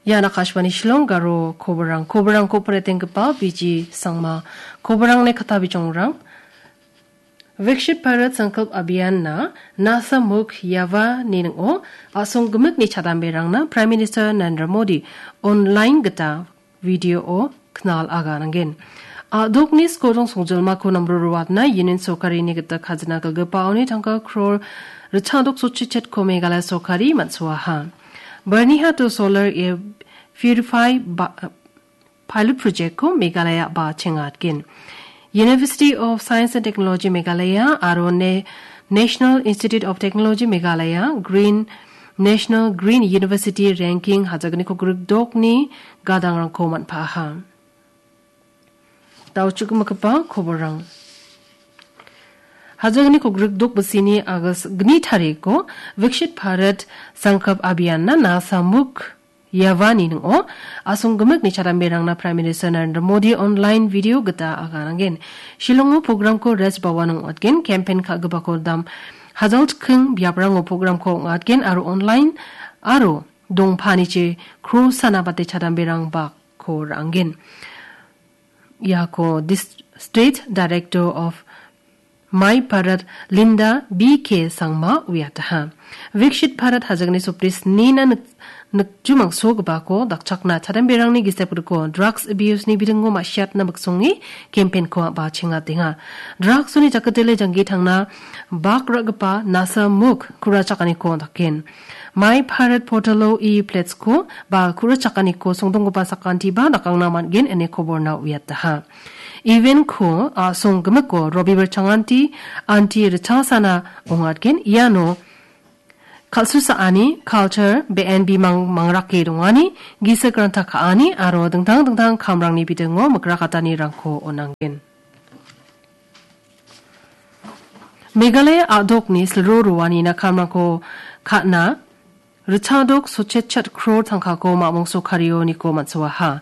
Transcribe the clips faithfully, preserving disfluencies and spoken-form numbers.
Ian Akashvani Shillong Garo koborang, koborangko pratenggipa B G Sangma, koborangni kata bijongrang. Viksit Bharat Sankalp Abhiyan-na Nasa Mukt Yuva-ni ning·o a·song gimikni chadamberangna Prime Minister Narendra Modi online gita video-o knal aganangen. A·dokni skodong songjilmako namro ruatna Union Sorkarini gita khajna galgipaoni tangka kror ritchadok sotchichetko Meghalaya Sorkari man·soaha. Byrnihat-o solar air purify ba-, pilot project-ko Meghalaya ba chengatgen. University of Science and Technology Meghalaya aro ne-, National Institute of Technology Meghalaya Green, National Green University Ranking hajagniko grikdokni gadangrangko man·paha. Dauchukgipa koborang. Hajagniko grikdok bisini August gni tariko Viksit Bharat Sankalp Abhiyan-na Nasa Mukt Yuva-ni ning·o a·song gimikni chadamberangna Prime Minister Narendra Modi online video gita aganangen. Shillongo programko Raj Bhavan ong·atgen, campaign ka·gipako dam hajal chikking biaprango programko ong·atgen aro online aro dongpanichi krosana bate chadamberang bakko ra·angen. Iako Dis-, State Director of My Bharat Linda B K Sangma uiataha. Viksit Bharat hajagni sopris nina nik-, nikjumangsogipako dakchakna chadamberangni gisepgriko drugs abuse-ni bidingo ma·siatna miksonge campaign-ko a·ba chengatenga. Drugs-oni jakatele janggi tangna bak ra·gipa Nasa Mukt ku·rachakaniko daken. My Bharat portal-o e-plates-ko ba ku·rachakaniko songdonggipa sakantiba dakangna man·gen ine koborna uiataha. Event-ko a·song gimiko Robibar Changanti anti ritchasana ong·atgen. Iano kal·susaani, culture, be·en bimang mangrake dongani, gisik ranta ka·ani aro dingtang dingtang kamrangni bidingo mikrakatanirangko on·angen. Meghalaya a·dokni silro roanina kamrangko ka·na ritchadok sotchetchet kror tangkako mamong sorkario niko man·soaha.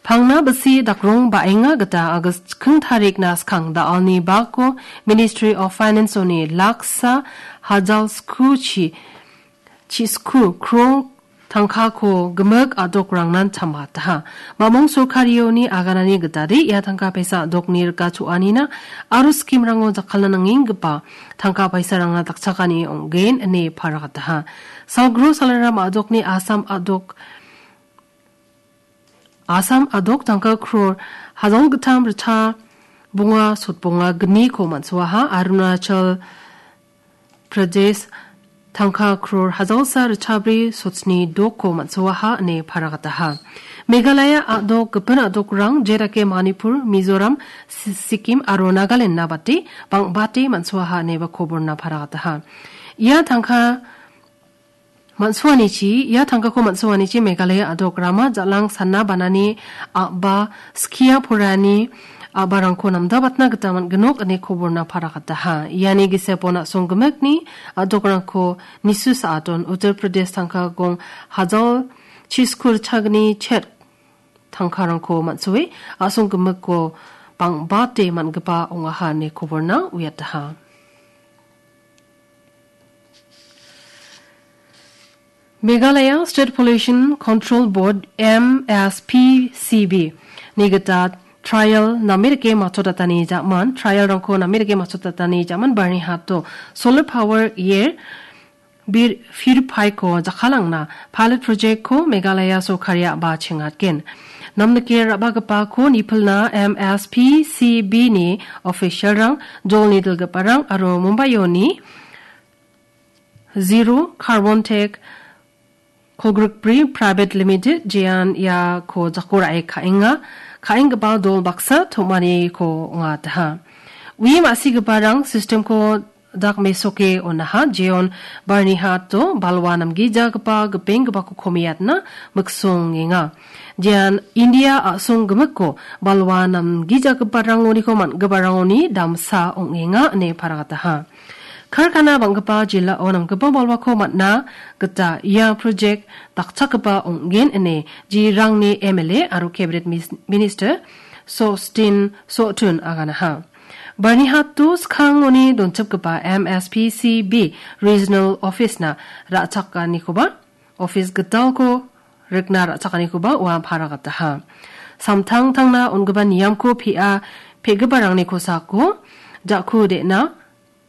Pangna bisi dakrong ba·enga gita August chikking tarikna skang da·alni bako Ministry of Finance-oni laksa hajal sku chi-, chisku kror tangkako gimik a·dokrangnan chambataha. Mamong sorkarioni aganani gitade ia tangka paisa a·dokni rika cho·anina aro scheme-rango jakkalna nangenggipa tangka paisarangna dakchakani ong·gen ine paragataha. Salgro Salaram a·dokni Assam a·dok, Assam a·dok tangka kror hajal gittam ritcha bonga sotbonga gniko man·soaha. Arunachal Pradesh tangka kror hajalsa ritchabri sotsni dokko man·soaha ine paragataha. Meghalaya a·dok gipin a·dokrang jedake Manipur, Mizoram, Si-, Sikkim aro Nagaland-na bate bang·bate man·soaha ineba koborna paragataha. Ia tangka man·soanichi, ia tangkako man·soanichi Meghalaya a·dok rama jal·ang sanna banani a·ba skia porani a·barangko namdabatna gita man·ginok ine koborna paragataha. Iani gisepo na·song gimikni a·dokrangko nisu sa·aton Uttar Pradesh tangka gong hajal chiskur chagni chet tangkarangko man·soe a·song gimikko bang·bate man·gipa ong·aha ine koborna uiataha. Meghalaya State Pollution Control Board, M S P C B, ni gita trial name dake matchotatani ja·man, trial-rangko name dake matchotatani ja·man, Byrnihat-o solar power air bir-, purify-ko jakkalangna pilot project-ko Meghalaya sorkaria ba chengatgen. Namnike ra·bagipako nipilna M S P C B-ni official-rang, jolni dilgiparang aro Mumbai-oni Zero Carbon Tech Kolgrikbri Private Limited jean iako jako ra·e ka·enga, ka·enggipa dol baksa tom·aniko ong·ataha. Ue ma·sigiparang system-ko dak mesoke on·aha, jeon Byrnihat-o balwa namgijagipa gipenggipako komiatna miksongenga. Jean India a·song gimikko balwa namgijagiparangoniko man·giparangoni damsa ong·enga ine paragataha. Karkana bang·gipa jilao namgipa balwako man·na gita ia project dakchakgipa ong·gen ine Jirangni M L A aro Cabinet Mis-, Minister Sostin Sotun aganaha. Byrnihat-o skangoni donchipgipa M S P C B Regional Office-na ra·chakanikoba office gitalko rikna ra·chakanikoba ua paragataha. Samtangtangna on·gipa niamko pe·a pe·giparangni kosako ja·ku de·na,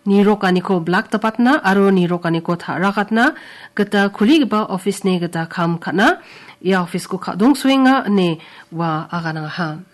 nirokaniko blak dapatna aro nirokaniko ta·rakatna gita kuligipa office-ni gita kam ka·na ia office-ko ka·dongsoenga ine ua aganangaha.